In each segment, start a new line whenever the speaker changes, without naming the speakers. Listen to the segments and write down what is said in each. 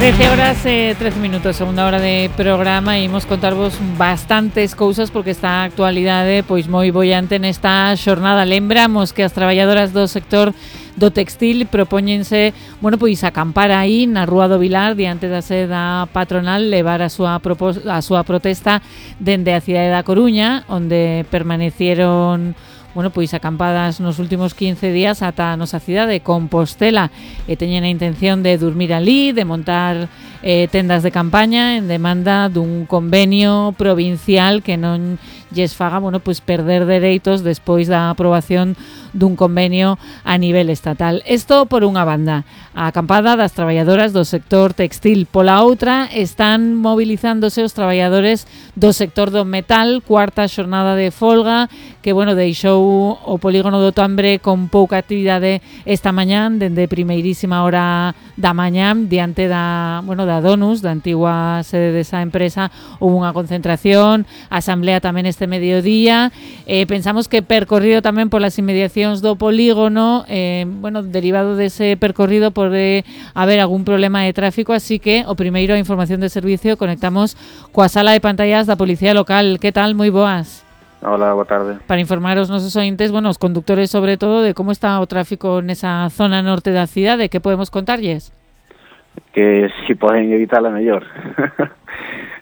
13 horas, 13 minutos, segunda hora de programa, e imos contarvos bastantes cousas porque esta actualidade pois moi bollante nesta xornada. Lembramos que as traballadoras do sector do textil propóñense, bueno, pois acampar aí na Rúa do Vilar diante da sede da patronal, levar a súa protesta dende a cidade da Coruña, onde permanecieron, bueno, pois acampadas nos últimos 15 días ata a nosa cidade de Compostela, e teñen a intención de dormir ali, de montar tendas de campaña en demanda dun convenio provincial que non lles faga, bueno, pois perder dereitos despois da aprobación dun convenio a nivel estatal. Isto por unha banda, a acampada das traballadoras do sector textil. Pola outra, están movilizándose os traballadores do sector do metal, cuarta xornada de folga, que, bueno, deixou o polígono do Tambre con pouca actividade esta mañán, dende primeirísima hora da mañán, diante da, bueno, da Donus, da antigua sede desa empresa. Houve unha concentración, asamblea tamén este mediodía. Pensamos que percorrido tamén polas inmediacións do polígono, bueno, derivado dese percorrido pode haber algún problema de tráfico, así que o primeiro, a información de servicio, conectamos coa sala de pantallas da Policía Local. Que tal? Moi boas.
Hola, boa tarde.
Para informar aos nosos ointes, bueno, os conductores sobre todo, de como está o tráfico nesa zona norte da cidade, que podemos contarlles?
Que si poden evitarla mellor.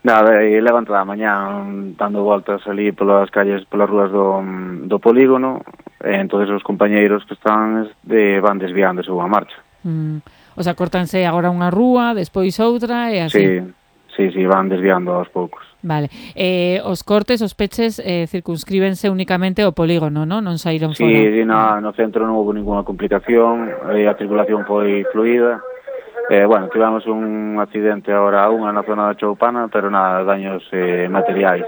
Nada, levanto da mañá dando voltas ali polas calles, polas rúas do polígono, e entonces os compañeiros que están van desviándose unha marcha.
O sea, cortanse agora unha rúa, despois outra e así.
Sí, van desviando aos poucos.
Vale. Os cortes, os peches circunscríbense únicamente ao polígono, non? Non saíron fora.
Sí, no centro non houve ninguna complicación, a circulación foi fluida. Bueno, tivemos un accidente agora na zona da Choupana, pero nada, daños materiais,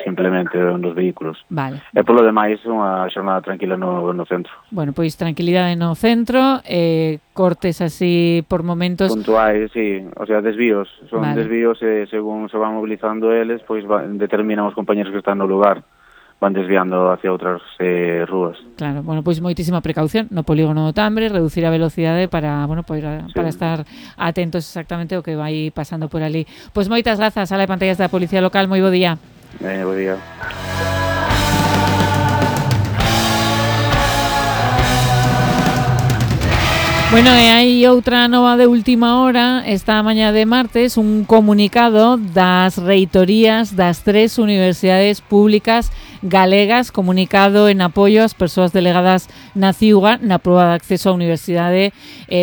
simplemente nos vehículos.
Vale.
E polo demais, unha xornada tranquila no centro.
Bueno, pois tranquilidade no centro, cortes así por momentos
puntuais, sí, o sea, desvíos, son
vale.
Desvíos e según se van mobilizando eles, pois determinan os compañeros que están no lugar, van desviando hacia outras rúas.
Claro, bueno, pois moitísima precaución no polígono do Tambre, reducir a velocidade para, bueno, para estar atentos exactamente ao que vai pasando por ali. Pois moitas grazas, sala de pantallas da Policía Local, moi bo día.
Bo día.
Bueno, e hai outra nova de última hora, esta mañá de martes, un comunicado das reitorías das 3 universidades públicas galegas, comunicado en apoio ás persoas delegadas na CIUGA na proba de acceso á universidade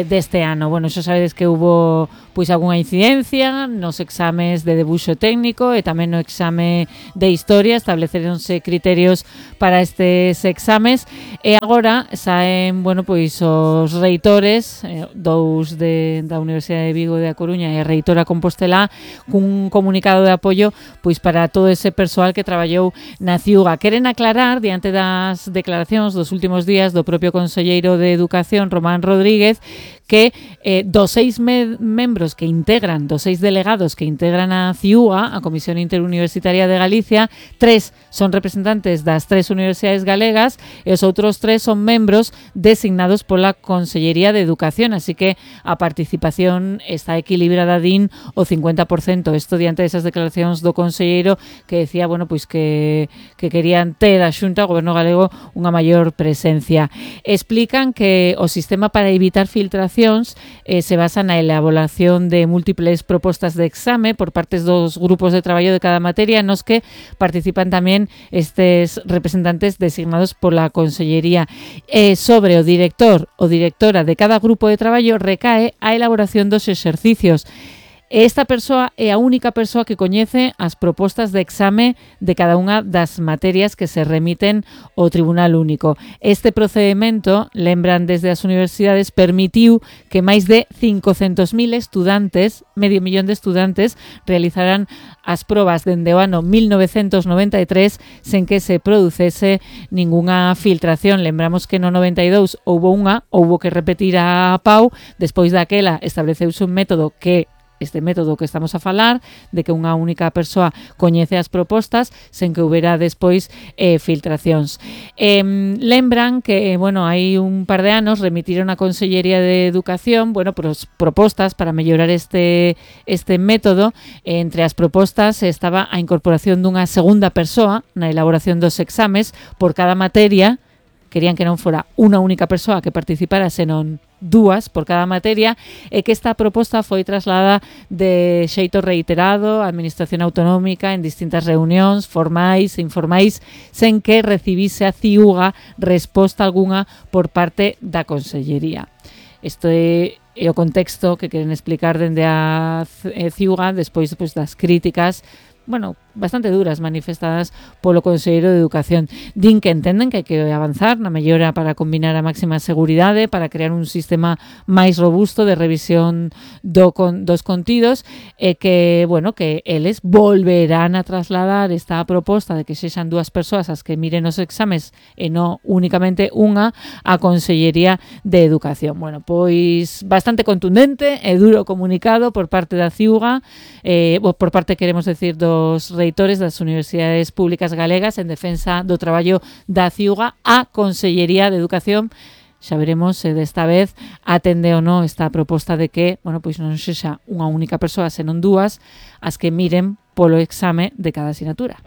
deste ano. Bueno, xa sabedes que hubo pois algunha incidencia nos exames de debuxo técnico e tamén no exame de historia, estableceronse criterios para estes exames e agora saen, bueno, pois os reitores, dous da Universidade de Vigo e da Coruña e a reitora Compostela, cun comunicado de apoio pois para todo ese persoal que traballou na CIUGA. Queren aclarar, diante das declaracións dos últimos días do propio conselleiro de Educación, Román Rodríguez, que dos 6 membros que integran, dos 6 delegados que integran a CIUGA, a Comisión Interuniversitaria de Galicia, 3 son representantes das 3 universidades galegas e os outros 3 son membros designados pola Consellería de Educación, así que a participación está equilibrada, din, o 50%. Isto diante desas declaracións do conselleiro que decía, bueno, pois que querían ter a Xunta, o Goberno galego, unha maior presencia. Explican que o sistema para evitar filtracións se basa na elaboración de múltiples propostas de exame por partes dos grupos de traballo de cada materia, nos que participan tamén estes representantes designados pola Consellería. Sobre o director ou directora de cada grupo de traballo recae a elaboración dos exercicios. Esta persoa é a única persoa que coñece as propostas de exame de cada unha das materias que se remiten ao Tribunal Único. Este procedimento, lembran desde as universidades, permitiu que máis de 500.000 estudantes, medio millón de estudantes, realizaran as probas dende o ano 1993 sen que se producese ningunha filtración. Lembramos que no 92 houbo que repetir a PAU, despois daquela estableceuse un método que este método que estamos a falar, de que unha única persoa coñece as propostas sen que houbera despois filtracións. Lembran que, bueno, hai un par de anos remitiron a Consellería de Educación, bueno, propostas para mellorar este método. Entre as propostas estaba a incorporación dunha segunda persoa na elaboración dos exames por cada materia. Querían que non fora unha única persoa que participara, senón dúas por cada materia, e que esta proposta foi trasladada de xeito reiterado á Administración Autonómica en distintas reunións formais e informais, sen que recibise a CIUGA resposta algunha por parte da Consellería. Isto é o contexto que queren explicar dende a CIUGA despois das críticas, bueno, bastante duras manifestadas polo Conselleiro de Educación. Din que entenden que hai que avanzar na mellora para combinar a máxima seguridade, para crear un sistema máis robusto de revisión dos contidos, e que, bueno, que eles volverán a trasladar esta proposta de que sexan dúas persoas as que miren os exames e non únicamente unha á Consellería de Educación. Bueno, pois bastante contundente e duro comunicado por parte da CIUGA, por parte, queremos decir, dos reitores das universidades públicas galegas en defensa do traballo da CIUGA á Consellería de Educación. Xa veremos se desta vez atende ou non esta proposta de que, bueno, pois non sexa unha única persoa, senón dúas as que miren polo exame de cada asignatura.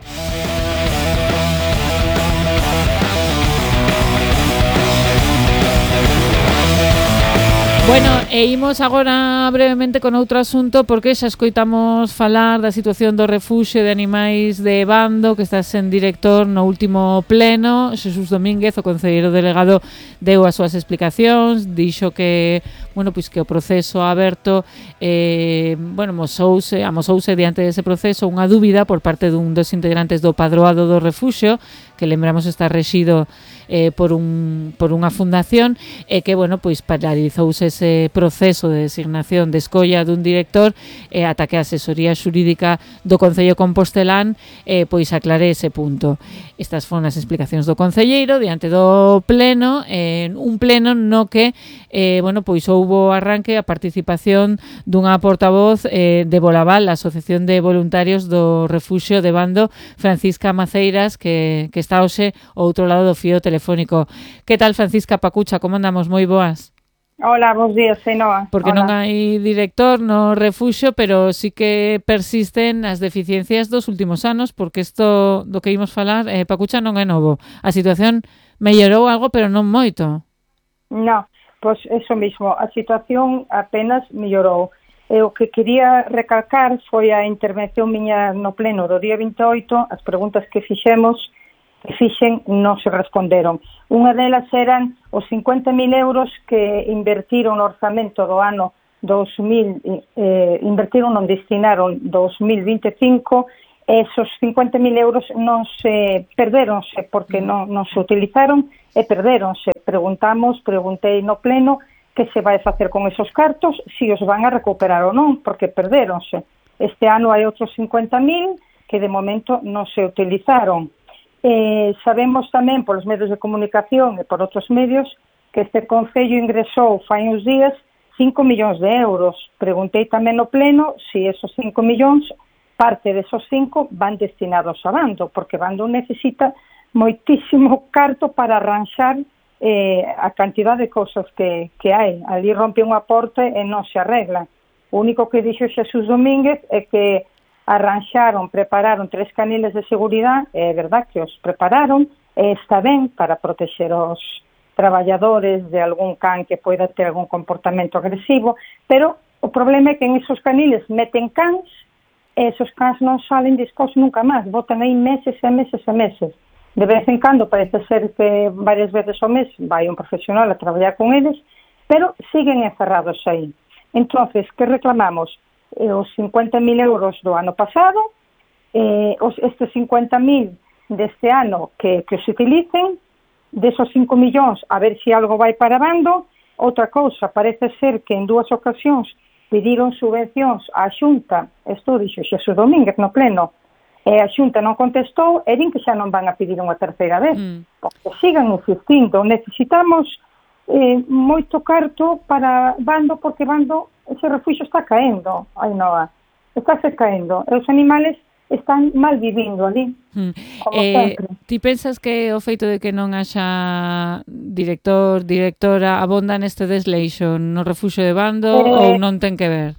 Bueno, e imos agora brevemente con outro asunto, porque xa escoitamos falar da situación do refuxio de animais de Bando, que está sen director no último pleno. Xesús Domínguez, o concelleiro delegado, deu as súas explicacións, dixo que, bueno, pois que o proceso aberto, bueno, amosouse diante dese proceso unha dúbida por parte dun dos integrantes do padroado do refuxio, que lembramos está rexido por unha fundación, e que, bueno, pois paralizouse ese proceso de designación de escolla dun director ata que a asesoría xurídica do Concello Compostelán pois aclare ese punto. Estas foron as explicacións do concelleiro diante do pleno, un pleno no que, bueno, pois houbo arranque a participación dunha portavoz de Bolaval, a Asociación de Voluntarios do Refuxio de Bando, Francisca Maceiras, que está hoxe ao outro lado do fío telefónico. Que tal, Francisca Pacucha? Como andamos? Moi boas.
Hola, bons días, Ainhoa.
Porque
Hola.
Non hai director no refuxio, pero sí que persisten as deficiencias dos últimos anos, porque isto do que imos falar, Pacucha, non é novo. A situación mellorou algo, pero non moito.
No, pois eso mismo, a situación apenas mellorou. E o que quería recalcar foi a intervención miña no pleno do día 28, as preguntas que fixen non se responderon. Unha delas eran os 50.000 euros que invertiron no orzamento do ano 2000, non destinaron 2025, esos 50.000 euros non se perderonse porque non se utilizaron e perderonse. Preguntei no pleno que se vai facer con esos cartos, se os van a recuperar ou non, porque perderonse. Este ano hai outros 50.000 que de momento non se utilizaron. Sabemos tamén polos medios de comunicación e por outros medios que este Concello ingresou fai uns días 5 millóns de euros. Preguntei tamén no pleno se esos 5 millóns, parte desos 5 van destinados a Bando, porque Bando necesita moitísimo carto para arranxar a cantidad de cousas que hai. Ali rompe unha porta e non se arregla. O único que dixo Xesús Domínguez é que prepararon 3 caniles de seguridade, é verdad que os prepararon, e está ben para protexer os traballadores de algún can que poida ter algún comportamento agresivo, pero o problema é que en esos caniles meten cans, e esos cans non salen dispós nunca máis, botan aí meses e meses e meses. De vez en cando parece ser que varias veces ao mes vai un profesional a traballar con eles, pero siguen encerrados aí. Entonces, que reclamamos? Os 50.000 euros do ano pasado, estes 50.000 deste ano que os utilicen, desos 5 millóns, a ver se algo vai para Bando. Outra cousa, parece ser que en 2 ocasións pediron subvencións á Xunta, isto dixo Xesús Domínguez no pleno, e a Xunta non contestou, e din que xa non van a pedir unha terceira vez, porque sigan insistindo. Necesitamos moito carto para Bando, porque Bando ese refuxio está caendo, Ainhoa, estáse caendo, e os animales están mal vivindo ali, como sempre.
Ti pensas que o feito de que non haxa director, directora, abonda neste desleixo no refuxio de Bando ou non ten que ver?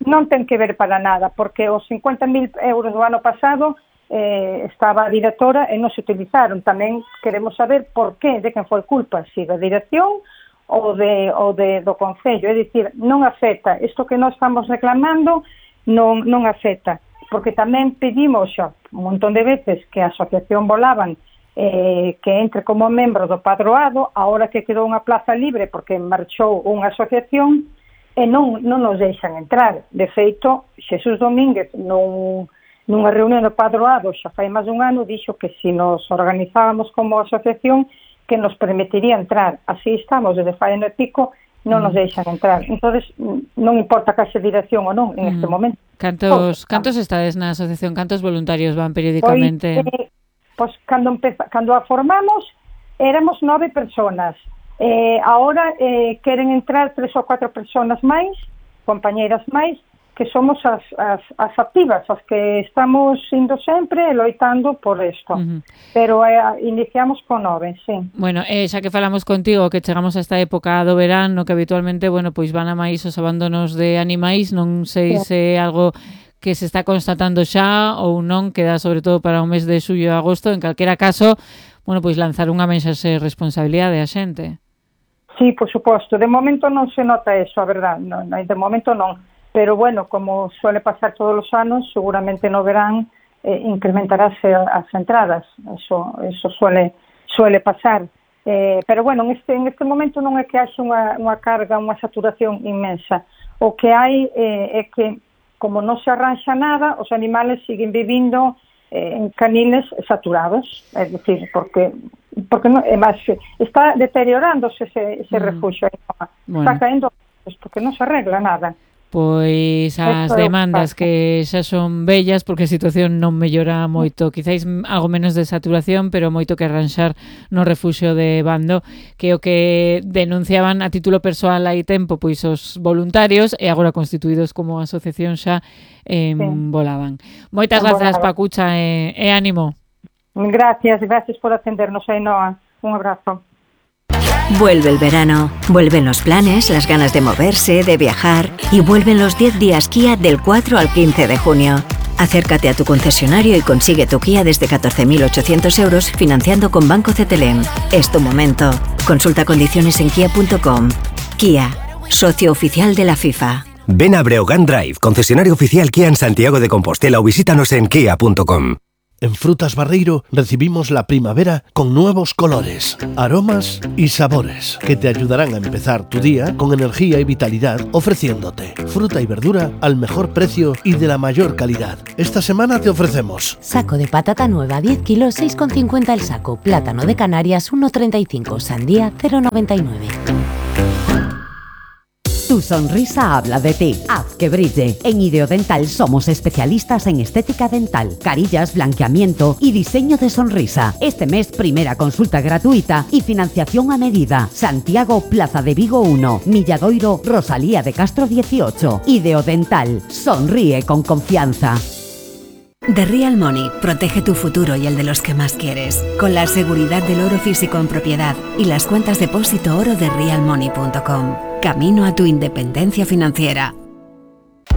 Non ten que ver para nada, porque os 50.000 euros do ano pasado estaba a directora e non se utilizaron. Tamén queremos saber por qué, de quen foi culpa, se da dirección ou do Concello. É dicir, non afecta. Isto que nós estamos reclamando non afecta. Porque tamén pedimos xa un montón de veces que a Asociación Volaban que entre como membro do padroado, ahora que quedou unha plaza libre porque marchou unha asociación e non nos deixan entrar. De feito, Xesús Domínguez nunha reunión do padroado xa fai máis dun ano dixo que se nos organizábamos como asociación que nos permitiría entrar. Así estamos desde fai ano e pico, non nos deixan entrar. Entonces, non importa que haxe dirección ou non en este momento.
Cantos estades na asociación? Cantos voluntarios van periódicamente?
Pois cando a formamos éramos 9 personas. Ahora queren entrar 3 ou 4 personas máis, compañeiras máis, que somos as activas, as que estamos indo sempre loitando por isto. Pero iniciamos con 9, sí.
Bueno, xa que falamos contigo que chegamos a esta época do verán, no que habitualmente, bueno, pois van a máis os abandonos de animais, non sei se é algo que se está constatando xa ou non, queda sobre todo para o mes de xullo e agosto. En calquera caso, bueno, pois lanzar unha mensaxe de responsabilidade a xente.
Sí, por suposto. De momento non se nota eso, a verdad. No, de momento non. Pero bueno, como suele pasar todos os anos, seguramente no verán incrementarase as entradas. Eso suele pasar. Pero bueno, en este momento non é que haxe unha carga, unha saturación inmensa. O que hai é que, como non se arranxa nada, os animales siguen vivindo en caniles saturados. É dicir, porque non, está deteriorándose ese refuxio. Bueno. Está caendo, porque non se arregla nada.
Pois as demandas que xa son bellas porque a situación non mellora moito, quizáis algo menos de saturación, pero moito que arranxar no refuxio de Bando, que o que denunciaban a título persoal hai tempo pois os voluntarios e agora constituídos como asociación xa Volaban. Moitas grazas, Pacucha, e ánimo.
Gracias por atendernos, Ainhoa. Un abrazo.
Vuelve el verano, vuelven los planes, las ganas de moverse, de viajar y vuelven los 10 días Kia del 4 al 15 de junio. Acércate a tu concesionario y consigue tu Kia desde 14.800 euros financiando con Banco CTLM. Es tu momento. Consulta condiciones en kia.com. Kia, socio oficial de la FIFA.
Ven a Breogán Drive, concesionario oficial Kia en Santiago de Compostela o visítanos en kia.com.
En Frutas Barreiro recibimos la primavera con nuevos colores, aromas y sabores que te ayudarán a empezar tu día con energía y vitalidad, ofreciéndote fruta y verdura al mejor precio y de la mayor calidad. Esta semana te ofrecemos
saco de patata nueva 10 kilos 6,50 el saco, plátano de Canarias 1,35, sandía 0,99.
Tu sonrisa habla de ti. Haz que brille. En Ideodental somos especialistas en estética dental, carillas, blanqueamiento y diseño de sonrisa. Este mes, primera consulta gratuita y financiación a medida. Santiago, Plaza de Vigo 1, Milladoiro, Rosalía de Castro 18. Ideodental. Sonríe con confianza.
The Real Money protege tu futuro y el de los que más quieres, con la seguridad del oro físico en propiedad y las cuentas depósito oro de realmoney.com. Camino a tu independencia financiera.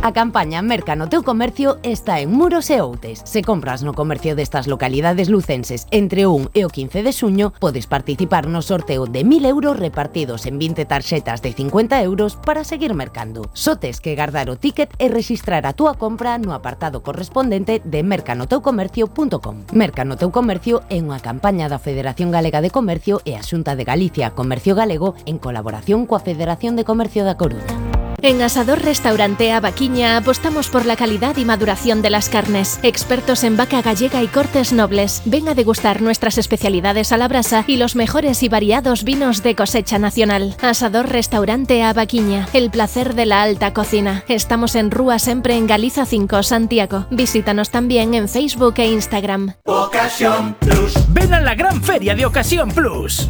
A campaña Merca no teu comercio está en Muros e Outes. Se compras no comercio destas localidades lucenses entre o 1 e o 15 de xuño, podes participar no sorteo de 1.000 euros repartidos en 20 tarxetas de 50 euros para seguir mercando. Só tes que guardar o ticket e registrar a túa compra no apartado correspondente de mercanoteucomercio.com. Merca no teu comercio é unha campaña da Federación Galega de Comercio e a Xunta de Galicia Comercio Galego en colaboración coa Federación de Comercio da Coruña.
En Asador Restaurante A Vaquiña apostamos por la calidad y maduración de las carnes. Expertos en vaca gallega y cortes nobles. Ven a degustar nuestras especialidades a la brasa y los mejores y variados vinos de cosecha nacional. Asador Restaurante A Vaquiña, el placer de la alta cocina. Estamos en Rúa Sempre en Galiza 5, Santiago. Visítanos también en Facebook e Instagram.
Ocasión Plus. Ven a la gran feria de Ocasión Plus.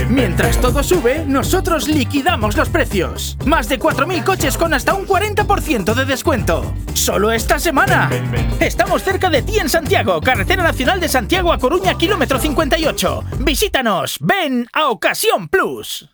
Mientras todo sube, nosotros liquidamos los precios. Más de 4.000 coches coches con hasta un 40% de descuento. ¡Solo esta semana! Estamos cerca de ti en Santiago, Carretera Nacional de Santiago a Coruña, kilómetro 58. Visítanos. Ven a Ocasión Plus.